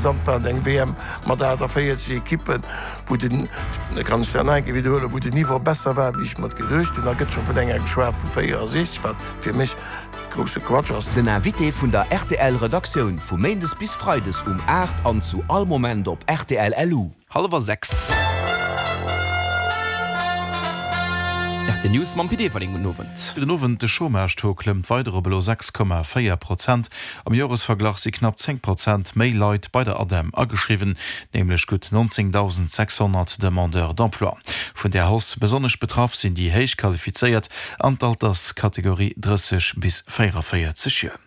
Insgesamt war et eng WM mat 48 Ekippen, wou den, da kann ech dat nach eng Kéier widderhuelen, wou den Niveau besser war, wéi ech mer et geduecht hunn. Da gëtt scho vun enger geschwat vu 64, wat fir mech grousse Quatsch ass. Den Invité vun der rtl Redaktioun vu Méindes bis Freides um 8 an zu all Moment op rtl LU. Hallwer 6. Rtl News mam Pit Everling. Gudden Owend. Gudden Owend. De Chômage-Taux klëmmt weider op elo 6,4 Prozent. Am Joresverglach si knapp 10 Prozent méi Leit bei der ADEM ageschriwwen, nämlech gutt 19.600 Demandeurs d'emploi. Vun där Hausse besonnesch betraff sinn déi héich Qualifizéiert an d'Alterskategorie 30 bis 44 Joer.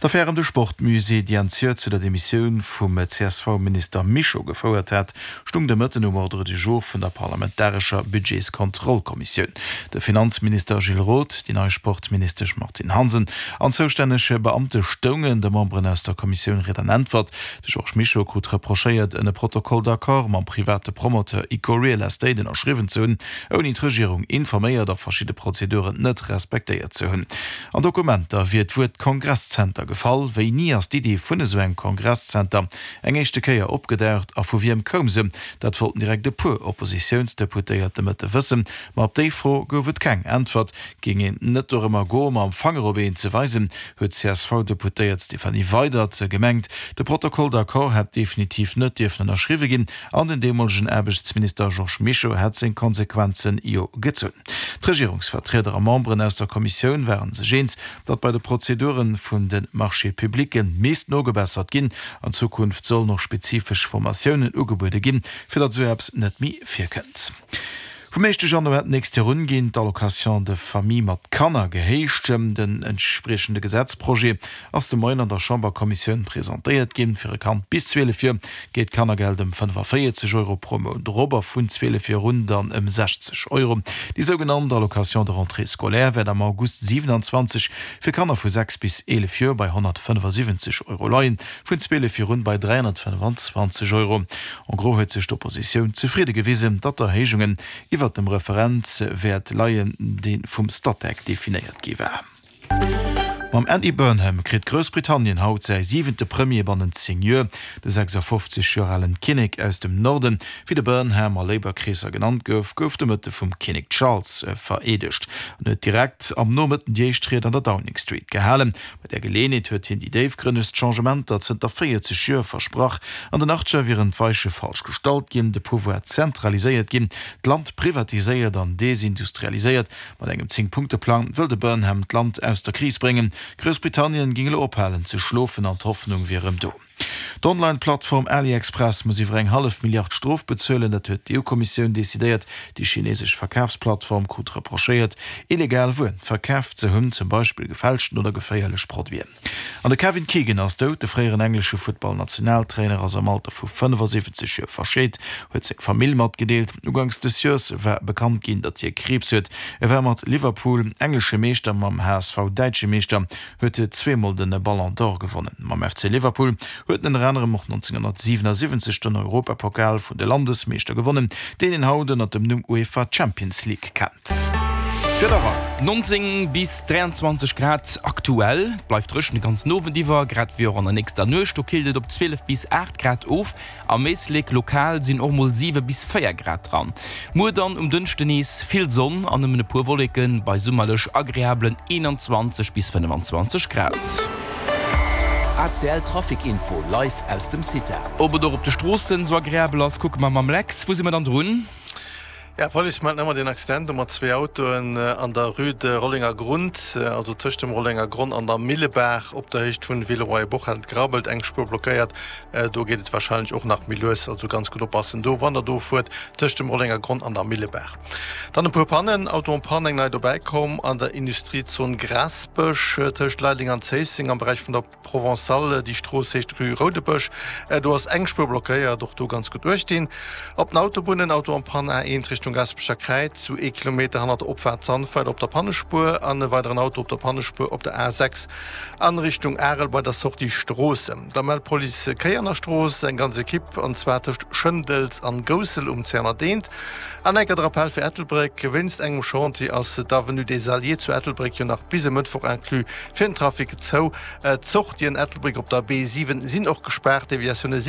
D'Affär ëm de Sportmusée, déi Enn d'Joer zu der Demissioun vum CSV-Minister Mischo gefouert hat, stung de Mëtten um Ordre du jour vun der parlamentarescher Budgetskontrollkommissioun. De Finanzminister Gilles Roth, déi nei Sportministesch Martine Hansen an zoustänneg Beamte stoungen de Memberen aus der Kommissioun Ried an Äntwert. De Georges Mischo krut reprochéiert, en e Protocole d'accord mam private Promoteur Ico Real Estate ënnerschriwwen ze hunn, ouni d'Regierung informéiert a verschidde Prozeduren net respektéiert ze hunn. An Dokumenter wier d'Wuert Kongresszenter gefall. Wéini ass d'Iddi vun esou engem Kongresszenter eng éischte Kéier opgedaucht a vu wiem koum se? Dat wollten direkt e puer Oppositiounsdeputéiert de Mëtte wëssen. Ma op déi Fro gouf et keng Äntwert. Géing een net dorëmmer goe mam Fanger op een ze weisen, huet d'CSV-Deputéiert Stéphanie Weydert gemengt. De Protocole d'accord hätt definitiv net dierfen ënnerschriwwe ginn an den deemolegen Aarbechtsminister Georges Mischo hätt seng Konsequenze jo gezunn. D'Regierungsvertrieder a Memberen aus der Kommissioun ware sech eens, datt bei de Prozedure vun de Marchés publics misst nogebessert ginn. An Zukunft sollen och spezifesch Formatiounen ugebuede ginn, fir datt esou eppes net méi virkënnt. Vum éischte Januar d'nächst Joer un ginn d'Allocations de famille mat Kanner gehéicht. Den entspriechende Gesetzprojet ass de Moien an der Chamberkommissioun presentéiert ginn. Fir e Kand bis 12 Joer geet d'Kannergeld ëm 45 Euro pro Mount erop a vun 12 Joer un dann ëm 60 Euro. Déi sougenannt Allocation de rentrée scolaire wäert am August 27 fir Kanner vu 6 bis 11 Joer bei 175 Euro leien, vun 12 Joer un bei 325 Euro. En gros huet sech d'Oppositioun zefridde gewisen, datt d'Erhéijungen iwwert dem Referenzwäert leien, dee vum Statec definéiert gi war. Mam Andy Burnham kritt Groussbritannien haut säi siwente Premier bannent 10 Joer. De 56 Joer alen Kinnek aus dem Norden, wéi de Burnham a Labour-Kreesser genannt gouf, gouf de Mëtte vum Kinnek Charles vereedegt an huet direkt am Nomëtten déi éischt Ried an der Downing Street gehalen. Bei där Geleeënheet huet hien déi déifgrënnegst Changementer zënter 40 Joer versprach. An den Achtscher wieren d'Weiche falsch gestallt ginn, de Pouvoir zentraliséiert ginn, d'Land privatiséiert an desindustrialiséiert. Mat engem Zéng-Punkte-Plang wëll de Burnham d'Land aus der Kris bréngen. Groussbritannien géing elo ophalen ze schlofen an d'Hoffnung wier erëm do. D'Online-Plattform AliExpress muss iwwer eng hallef Milliard Strof bezuelen. Dat huet d'EU-Kommissioun decidéiert. Déi chinesesch Verkafsplattform krut reprochéiert, illegal Wuer verkaf ze hunn, zum Beispill gefälschten oder geféierlech Produiten. An de Kevin Keegan ass dout. De fréieren englesche Futtball-Nationaltrainer ass am Alter vu 75 Joer verscheet, huet seng Famill matgedeelt. Uganks des Joers war bekannt ginn, datt hie Kriibs huet. E war mat Liverpool englesche Meeschter, mam HSV däitsche Meeschter, huet zweemol de Ballon d'Or gewonnen. Mam FC Liverpool huet en ënner anerem och 1977 den Europapokal vun de Landesmeeschter gewonnen, deen een haut ënner dem Numm UEFA Champions League kennt. D'Wiederer. 19 bis 23 Grad aktuell. Et bleift dréchen de ganzen Owend iwwer, grad wéi och an der nächster Nuecht. Do killt et op 12 bis 8 Grad of. Am Éislek lokal sinn och mol 7 bis 4 Grad dran. Muer dann um Dënschde nees vill Sonn an nëmmen e puer Wolleken bei summerlech agreablen 21 bis 25 Grad. ACL Trafic Info live aus dem CITA. Ob et och op de Stroossen sou agreabel ass, kucke mer mam Lex. Wou si mer dann drun? Ja, d'Police mellt nach ëmmer deen Accident do mat zwee Autoen an der Rue de Rollengergrund, also tëscht dem Rollengergronn an der Millebaach op der Héicht vun Villeroy-et-Boch hat et gerabbelt, eng Spuer blockéiert. Do geet et warscheinlech och nach méi lues, also ganz gutt oppassen do, wann der do fuert, tëscht dem Rollengergronn an der Millebaach. Dann e puer Pannen, Auto en panne, eng nei dobäi komm an der Industriezon Graasbësch tëscht Leideleng an Zéisseng am Beräich vun der. Provençale, déi Strooss heescht Rue Roudebësch, do ass eng Spuer blockéiert, och do ganz gutt uecht dinn. Op den Autobunnen, Auto en panne A1 Richtung Gaasperecher Kräiz, zu ee Kilometer hannert der Opfaart Sandweiler op der Pannespuer an e weideren Auto op der Pannespuer op der A6 an Richtung Arel bei der Sortie Stroossen. Da mellt d'Police Kéier an der Strooss, eng ganz Ekipp, an zwar tëscht Schëndels an Goussel um 201. An enker de Rappel fir Ettelbréck, Wéinst engem Chantier ass d'Avenue des Alliés zu Ettelbréck jo nach bis e Mëttwoch inclus fir den Trafic zou. D'Sortien Ettelbréck op der B7 sinn och gespaart, Deviatioune si.